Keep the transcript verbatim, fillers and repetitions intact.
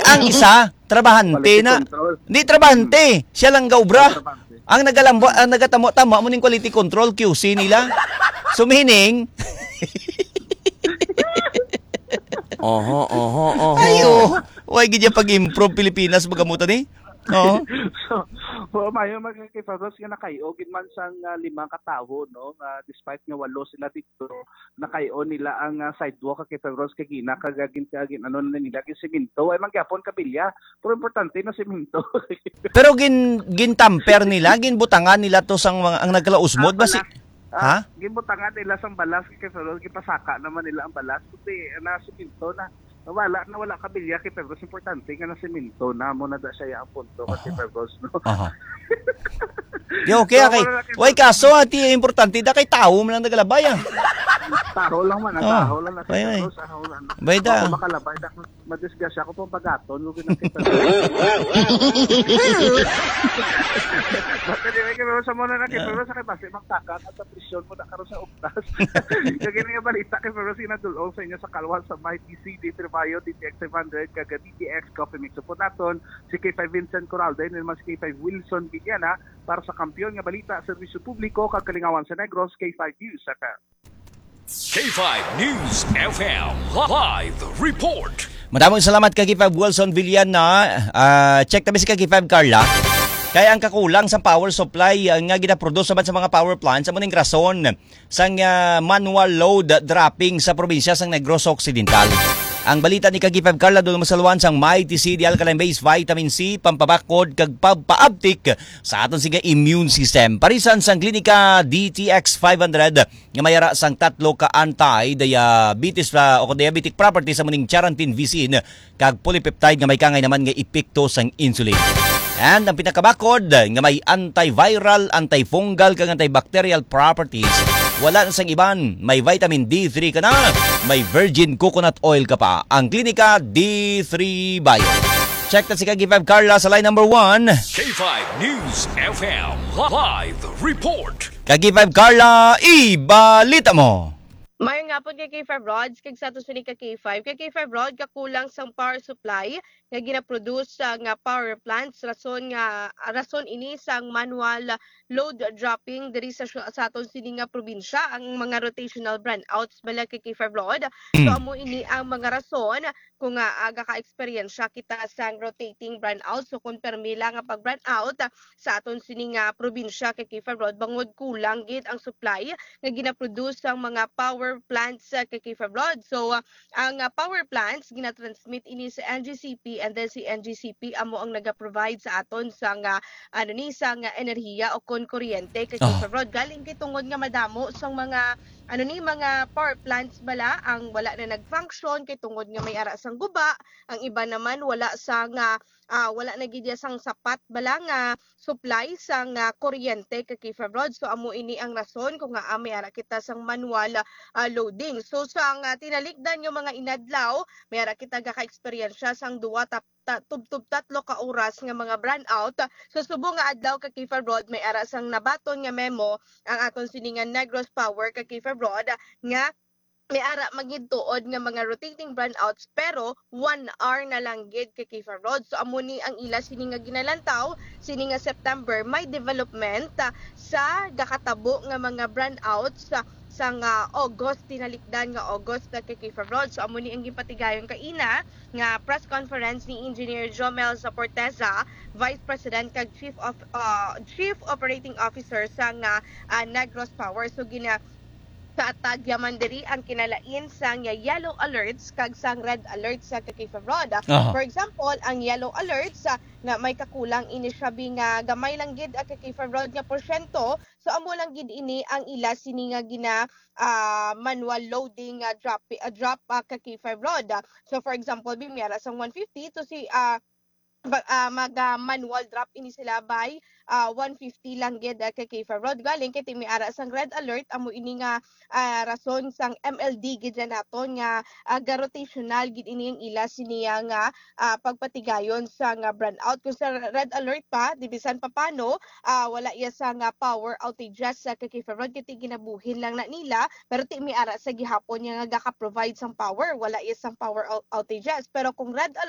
Ang isa, trabahante Quality na. Control. Di trabahante, siya lang gaubra. Trabahante. Ang nagalambo, ang nagatamo-tamo mo ning quality control, Q C nila. So, meaning, Oho, oho, oho. Ay, oh. Why gid niya pag-improve Pilipinas, magamutan eh? Oo. So, wa mayo magkakipagos nga nakayo gid man sang, ah, lima ka tawo, no? Nga despite nga walo sila dito, nakayo nila ang, ah, sidewalk, kakipagos kay gina kagagin kagin ano na nila gin semento. Ay man gyapon kabilya, pero importante na semento. Pero gin gintamper nila, ginbutangan nila to sang mga ang nagkalausmod Ah, basi. Balas. Ah, Ha? Ginbutangan nila sang balas kay Ferrol, gipasaka naman nila ang balas. Kundi, ah, na semento na. Nawala, nawala kabilya kay Ferrol. Importante nga na semento na mo na da siya ang punto kasi Aha. Ferrol, no? Aha. Di okay, So, okay. wala na kay Way Ferrol. Kaso, ati importante da kay tao man ang nagalabay ah. Taro lang man, Ah, taro lang na way, way. Ferrol, sa hawlan. Bay da. Ako makalabay da. Madisgrasya ko pang pagaton, mo ginakita. But anyway, kay Rosa mo na na kay Yeah. Rosa kay basi magtaka at sa presyon mo na karon sa uktas. Kag ini nga balita kay Rosa ginadul-ong sa inyo sa kalwa sa may D C D Trevayo, D T X five hundred, kag D T X Coffee Mix. Support naton si K five Vincent Coralde, and naman si K five Wilson Villana para sa Kampiyon nga Balita, Serbisyo Publiko, kag Kalingawan sa Negros, K five News. Sa ka- K five News F M live report. Madamong salamat kay K five Wilson Villana. Ah, check tabi si K five Carla. Kay ang kakulang sa power supply, ah, nga ginaproduce naman sa mga power plants, amo ning rason sang, ah, manual load dropping sa probinsya sang Negros Occidental. Ang balita ni K five Carla, doon masaluan sang Mighty C D Alkaline Base Vitamin C, pampabakod kag pagpaabtik sa aton sige immune system. Parisan sang Klinika D T X five hundred, nga may ara sang tatlo ka anti-diabetes, ah, o diabetic properties, amo ning charantin, visin, kag polypeptide nga may kangay naman nga epekto sang insulin. And ang pinakabakod nga may antiviral, antifungal, kag antibacterial properties, wala na sang iban, may vitamin D three ka na, may virgin coconut oil ka pa. Ang Klinika D three Bio. Check na si Kagi Five Carla sa line number one. K five News F M live report. Kagi Five Carla, ibalita mo. Mayong hapon kay K five Rods, kag sa ato sini ka K five. Kay K five Rod, kakulang sang power supply nga ginaproduce sa nga power plants, rason nga, rason ini sang manual load dropping diri sa, sa aton sini nga probinsya, ang mga rotational brownouts bala kay K five Rod. So, Mm. amo ini ang mga rason kung, ah, ah, gaka-eksperyensya kita sang rotating brownout. So, kung permi lang nga pag-brownout, ah, sa aton sini nga probinsya kay K five Rod, bangod kulang gid ang supply nga ginaproduce sang mga power plants, ah, kay K five Rod. So, ah, ang, ah, power plants ginatransmit ini sa N G C P, and then si N G C P amo ang naga-provide sa aton sang, ah, ano ni, sang, ah, enerhiya o kon kuryente kay K five Rod. Galing kay tungod nga madamo sang mga, ano ni, mga power plants bala ang wala na nag-function kay tungod nga may ara sang guba, ang iba naman wala sang, ah, ah, wala na gid sang sapat bala nga supply sang, ah, kuryente kay K five Rod. So, amo ini ang rason kung ngaa may ara kita sang manual, ah, loading. So, sang, ah, tinalikdan nga mga inadlaw, may ara kita gaka-eksperyensya sang duwa ta-, ta-, tubtob tatlo ka oras nga mga brownout. Sa subong nga adlaw kay K five Rod, may ara sang nabaton nga memo ang aton sini nga Negros Power kay K five Rod nga may ara man gid tuod nga mga rotating brownouts, pero one hour na lang gid kay K five Rod. So, amo ni ang ila sini nga ginalantaw, sini nga September, may development, ah, sa gakatabo nga mga brownouts sa, sa nga August, tinalikdan nga August na kay K five Rod. So, amo ni ang ginpatigayon kaina nga press conference ni Engineer Jomel Zaporteza, Vice President kag Chief of, ah, Chief Operating Officer sa nga, ah, Negros Power. So, gina-, sa tagya man diri ang kinalain sang yellow alerts kag sang red alerts sa kay K five Rod. Aha. For example, ang yellow alerts, ah, nga may kakulang ini siya bi nga gamay lang gid ang kay K five Rod nga porsyento. So, amo lang gid ini ang ila sini nga gina, ah, manual loading, ah, drop, ah, drop, ah, kay K five Rod. So, for example, bi may ara sang one fifty to si, ah, ba-, ah, mag, ah, manual drop ini sila by, ah, one fifty lang gid, ah, kay K five Rod. Galing kay ti may ara sang red alert, amo ini nga, ah, rason sang M L D gid na naton nga, ah, ga-rotational gid ini ang ila siniya nga, ah, pagpatigayon sa nga brownout. Kung sa red alert pa, di bisan pa paano, ah, wala iya sa nga power outages sa kay K five Rod, kay ti ginabuhin lang na nila, pero ti may ara sa gihapon niya nga gaka-provide sang power, wala iya sang power ou-, outages. Pero kung red alert,